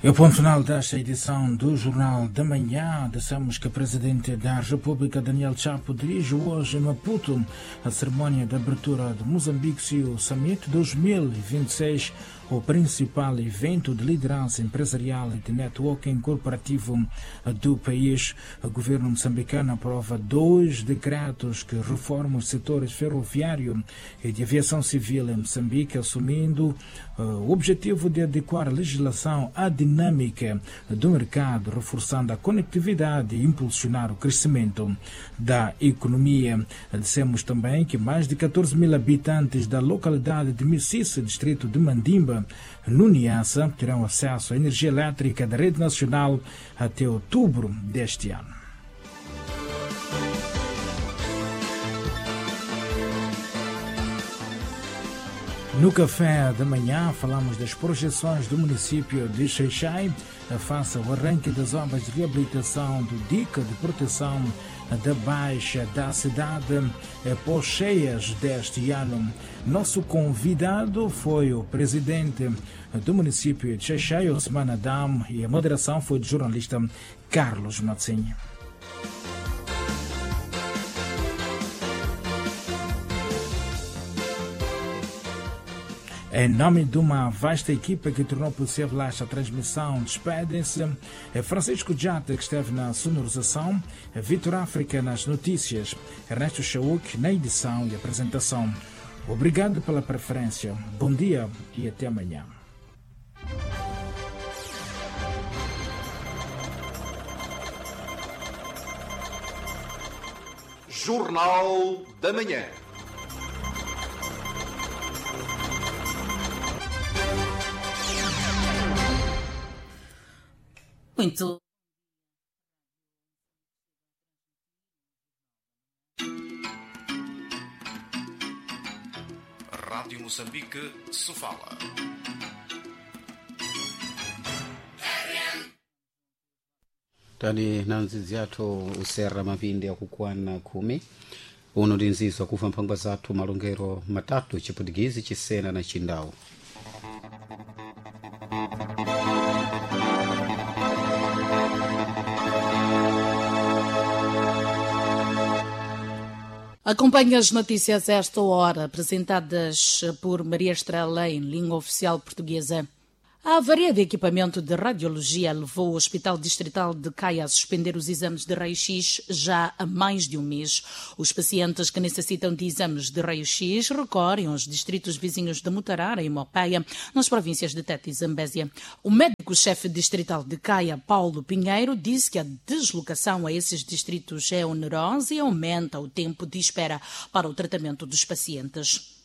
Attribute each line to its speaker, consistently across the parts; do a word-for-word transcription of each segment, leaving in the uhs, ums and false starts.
Speaker 1: E o ponto final desta edição do Jornal da Manhã. Dissemos que o Presidente da República, Daniel Chapo, dirige hoje em Maputo a cerimónia de abertura do Moçambique C E O Summit dois mil e vinte e seis, o principal evento de liderança empresarial e de networking corporativo do país. O governo moçambicano aprova dois decretos que reformam os setores ferroviário e de aviação civil em Moçambique, assumindo uh, o objetivo de adequar a legislação à dinâmica do mercado, reforçando a conectividade e impulsionar o crescimento da economia. Dissemos também que mais de catorze mil habitantes da localidade de Mississe, distrito de Mandimba, no Niassa, terão acesso à energia elétrica da rede nacional até outubro deste ano. No café da manhã, falamos das projeções do município de Xai-Xai face ao arranque das obras de reabilitação do dique de proteção da Baixa da cidade pós cheias deste ano. Nosso convidado foi o presidente do município de Xai-Xai, Osman Adam, e a moderação foi do jornalista Carlos Matzinho. Em nome de uma vasta equipa que tornou possível esta transmissão, despedem-se Francisco Jata, que esteve na sonorização, Vitor África nas notícias, Ernesto Chauk na edição e apresentação. Obrigado pela preferência. Bom dia e até amanhã.
Speaker 2: Jornal da Manhã.
Speaker 3: Muito.
Speaker 2: Rádio Moçambique, Sofala.
Speaker 4: Tani na nzizi yathu usera mapindi akukwana khumi uno ndi nzizo akufa mphangwa zathu malongero matatu Chiputugizi, Chisena na Chindau.
Speaker 3: Acompanhe as notícias a esta hora, apresentadas por Maria Estrela em língua oficial portuguesa. A avaria de equipamento de radiologia levou o Hospital Distrital de Caia a suspender os exames de raio-x já há mais de um mês. Os pacientes que necessitam de exames de raio-x recorrem aos distritos vizinhos de Mutarara e Mopeia, nas províncias de Tete e Zambésia. O médico-chefe distrital de Caia, Paulo Pinheiro, disse que a deslocação a esses distritos é onerosa e aumenta o tempo de espera para o tratamento dos pacientes.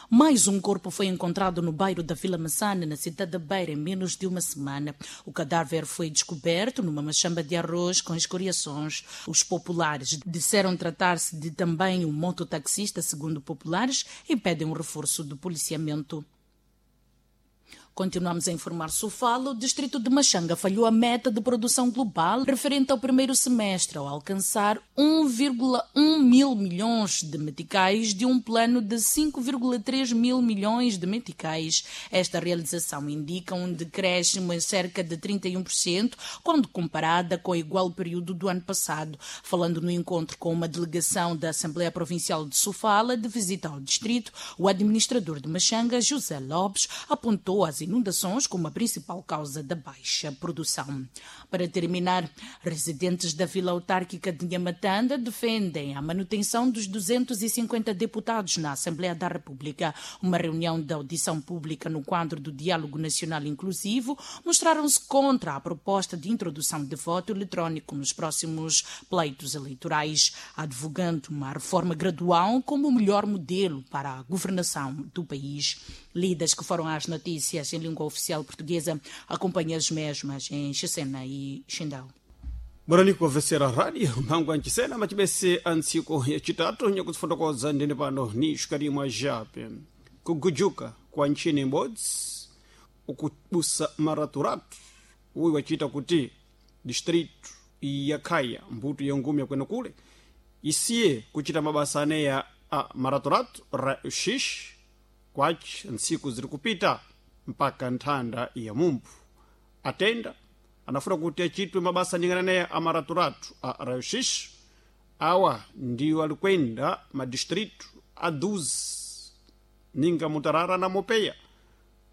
Speaker 3: Mais um corpo foi encontrado no bairro da Vila Massana, na cidade da Beira, em menos de uma semana. O cadáver foi descoberto numa machamba de arroz com escoriações. Os populares disseram tratar-se de também um mototaxista, segundo populares, e pedem um reforço do policiamento. Continuamos a informar Sofala. O distrito de Machanga falhou a meta de produção global referente ao primeiro semestre, ao alcançar um vírgula um mil milhões de meticais de um plano de cinco vírgula três mil milhões de meticais. Esta realização indica um decréscimo em cerca de trinta e um por cento quando comparada com o igual período do ano passado. Falando no encontro com uma delegação da Assembleia Provincial de Sofala de visita ao distrito, o administrador de Machanga, José Lopes, apontou as inundações como a principal causa da baixa produção. Para terminar, residentes da Vila Autárquica de Nhamatanda defendem a manutenção dos duzentos e cinquenta deputados na Assembleia da República. Uma reunião de audição pública no quadro do Diálogo Nacional Inclusivo mostraram-se contra a proposta de introdução de voto eletrónico nos próximos pleitos eleitorais, advogando uma reforma gradual como o melhor modelo para a governação do país. Lidas que foram às notícias em língua oficial portuguesa, acompanha as mesmas em Xessena e Xindau.
Speaker 5: Morani kuwavesera radio mphangwa nchisena macibese a ntsiku yacitatu nyakuzifotokoza ndine pano ni xikalimwa jape kugujuka kwa nchini imodzi ukubusa maraturatu uyu wacita kuti distrito ya Khaya mbuto ya ngumi yakwena kule isiye kucita mabasa aneya a maraturatu ra uxixi kwaci ntsiku ziri kupita mpaka nthanda ya mumbu Atenda anafuna kuti achitwe mabasa ningana naye amaraturatu a raio-x. Awa ndiwo alikwenda madistrito a doze ninga Mutarara na Mopeia,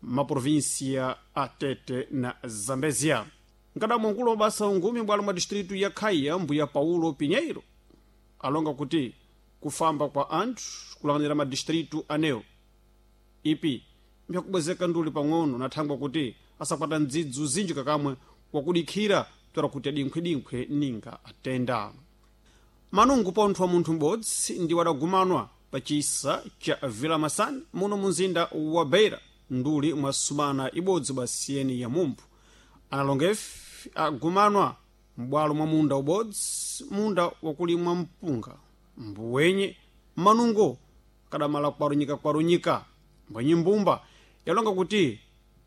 Speaker 5: maprovinsia a Tete na Zambezia. Nkadamwa nkulu wa basa ungumi bwalo mwa distrito ya Khaya, mbuya Paulo Pinheiro, alonga kuti kufamba kwa anthu kulanganira madistrito anewo ipi mphyakubwezeka nduli pang'ono na thangwa kuti asakwata ndzidzu zinji kakamwe wakudikhira toera kuti adinkhwedinkhwe ninga atenda. Manungu pontho wa munthu m'bodzi ndi wadagumanwa pa chisa cha Vila Masani muno munzinda wa Beira nduli mwa sumana ibodzi basiyeni ya mumphu. Analongefe agumanwa m'bwalo mwa munda ubodzi, munda wakulimwa mpunga mbuwenye manungo kadamala kwarunyika-kwarunyika. Mbwenye mbumba yalonga kuti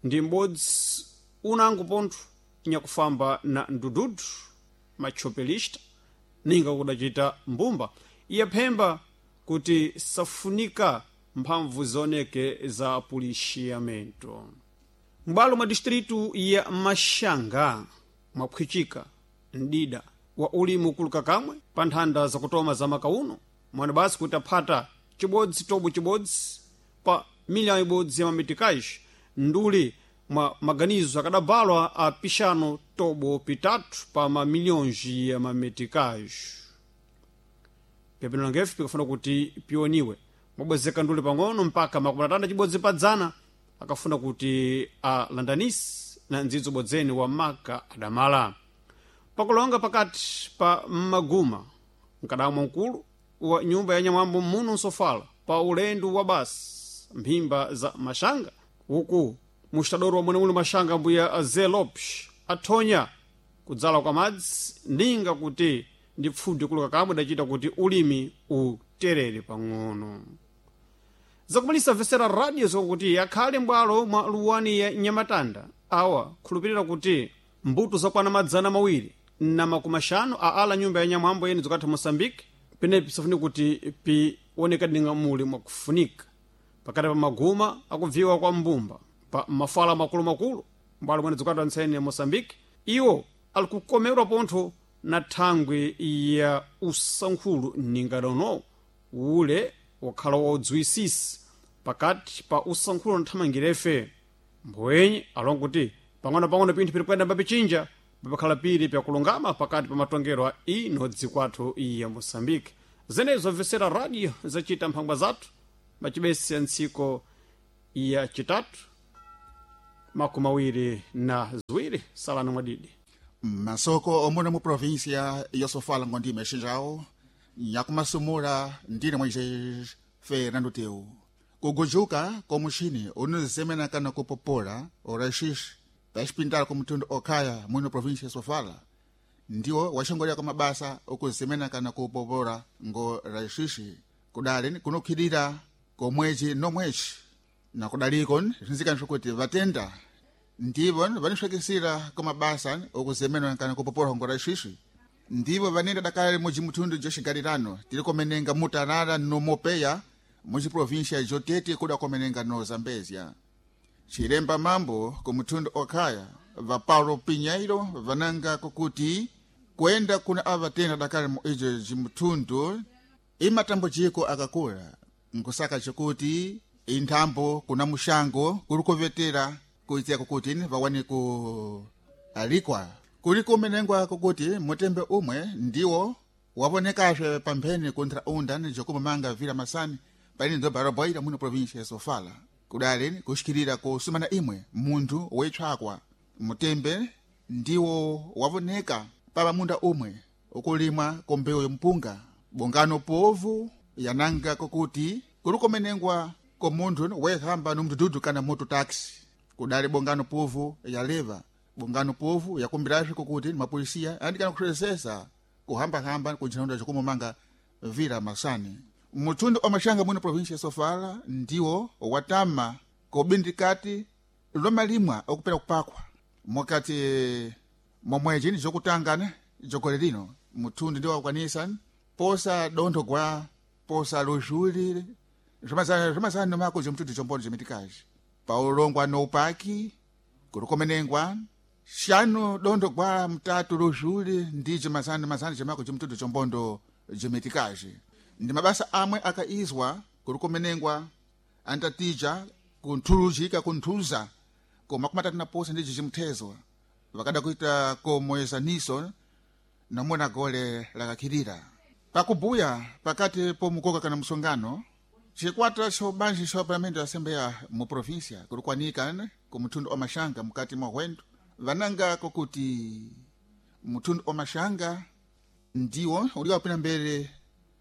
Speaker 5: ndi m'bodzi unango pontho nyakufamba na ndududu machopelista ninga kudacita mbumba iyaphemba kuti safunika mphamvu zioneke za policiamento. M'bwalo mwa distritu ya Maxanga mwaphwichika mdida wa ulimi ukuluka kamwe pa nthanda zakutoma za makauno mwana basi kuti aphata chibodzi tobo chibodzi pa miliyoni ibodzi ya mamitikaji nduli mwa maganizo akadabalwa a pixano tobo pitatu pa mamilhões ya mamitikaji. Pepino langefe pikafuna kuti pioniwe mwabwezeka nduli pang'ono mpaka makumi atanda chibodzi pa dzana akafuna kuti alandanisi na ndzidzo bodzeni wa maka adamala. Pakulonga pakati pa maguma mkadamwa mkulu wa nyumba ya nyamwambo muno nsofala pa ulendo wa basi mphimba za Maxanga uku mustadoro wa mwenemuli Maxanga mbuya Zé Lopes athonya kudzala kwa madzi ninga kuti ndi pfudi kuluka kamwe idacita kuti ulimi uterere pang'ono. Zakumalisa vesera radio zokuti akhale m'bwalo mwa luwani ya Nyamatanda awa khulupirira kuti mbuto zakwana madzana mawiri na makumi axanu a ala nyumba ya nyamwambo yene zokatha Moçambique penepi safuni kuti pioneka dinga muli mwakufunika pakati pa maguma akubviwa kwa mbumba pa mafala makulumakulu m'bwalo mwene zokatha ntsene ya Moçambique iwo ali kukomerwa pontho na thangwi ya usankhulu ningadono ule wakhala wodziwisisa pakati pa usankhulu na thamangirefe. Mbwenye alonga kuti pang'ono-pang'ono pinthu piri kuyenda mbapichinja papakhala piri pyakulungama pakati pa matongero a ino dzikwathu ya Moçambique. Zenezo mvesera radio zacita mphangwa zathu macibesi ya ntsiko ya chitatu makumi awiri na ziwiri. Salani mwadidi
Speaker 6: masoko omuna mu província ya Sofala ngondime xinjawo nyakumasumula ndine Moisés Fernando Teu. Kugujuka komuxini unizemena kana kupopola oraxixi paxipintala kumutundu okhaya muno província ya Sofala ndiwo waxongolera kwa mabasa okuzemena kana kupopola ngo raxixi kudali kunukhidira komwezi nomwezi na kudaliko zinzikana kuti vatenda ndivo vanixwekisira kwa mabasa okuzemena kana kupopola ngo raxixi ndivo vanenda dakale mujimutundu joxigalirano tili komenenga Mutarara no Mopeya muciprovíncia jotete kuda komenenga no Zambézia. Ciremba mambo kumutundu okhaya va Paulo Pinheiro vananga kukuti kwenda kuna avatenda dakale mu ijo jimutundu imatambujiko akakula nkusaka cikuti inthambo kuna muxango kuli kuvetera kuitia kukuti vawane ku alikwa kuli kumenengwa kukuti mutembe umwe ndiwo wavonekazve pampheni kuntharaunda ni jokumamanga Vila Masani paine ndzobva muno província ya Sofala kudali kuxikirira kusumana imwe munthu woitshwakwa mutembe ndiwo wavoneka pava munda umwe ukulimwa kombewu yompunga bongano povu yananga kokuti kuli kumenengwa komunthu woyehamba nomdududu kana moto taxi kudali bongano povu yaleva bongano povu yakumbirazve kokuti mapolisiya andikana kuxesesa kuhambahamba kunjinaunda jokumumanga Vila Masani. Mutundu wa Maxanga muno província ya Sofala ndiwo watama kobindikati lomalimwa okupera kupakwa mokati momweji ni jokutangana jokole lino mutundu ndiwo wakwanisa posa dontho gwa posa luzhuli zvamazana mako zvemutundu chombono chemitikazi paulongwa noupaki kuri komenengwa Xanu dondo gwa mtatu luzhuli ndije mazana mazana jemako jimtudu chombondo jimetikaji ndi mabasa amwe akaizwa kuri kumenengwa antatija kunthuluzhika kunthuza koma kumatatu na posa ndije jimthezwa vakada kuita komoyezaniso namona gole lakakhirira pakubuya pakati pomukoka kana msongano cikwata cobanji ca palamento ya asembeya mu província kuri kwanika ku muthundu wa maxanga mukati mwa hwendo vananga kokuti muthundu wa maxanga ndiwo uli wapina mbele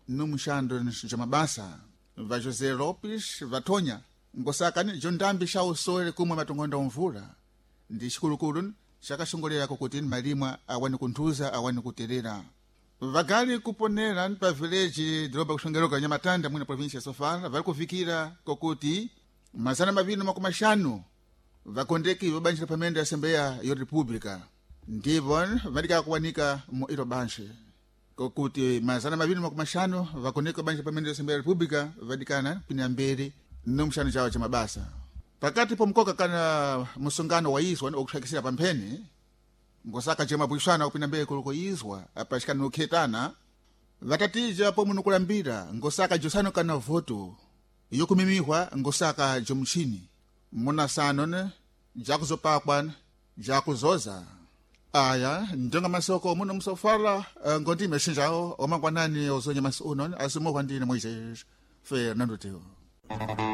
Speaker 6: no muxando ja mabasa va José Lopes vathonya ngosakani jo ndambi xa usole kumwe matongonda omvula ndi xikulukulu xakaxongolera kokuti malimwa awani kunthuza awani kuterera vagali kuponera pa village doroba kuxongeroka nyamatanda mwina província ya sofala vari kuvikira kokuti mazana maviri na makumi axanu vakondeki vabanjira pamene ya asembeya ya república ndipo vadika kuwanika mu ilo banxe kokuti mazana maviri na makumi axanu vakondeki vabanjira pamene ya asembeya ya república vadikana pina mberi no muxano cawo ca mabasa pakati pomkoka kana musongano wa izwa okuxakisira pampheni ngosaka cemabwixana kupinda mbere kuliko izwa apachikana nokhetana vatatija pomwe nokulambira ngosaka josano kana voto yokumimihwa ngosaka jomuchini munasano ne jakuzopakwa jakuzoza aya njonga masoko muno musofala eh, ngondime xinjawo omangwanani ozonya masi uno asimohwa ndine moisés Fernando Teo.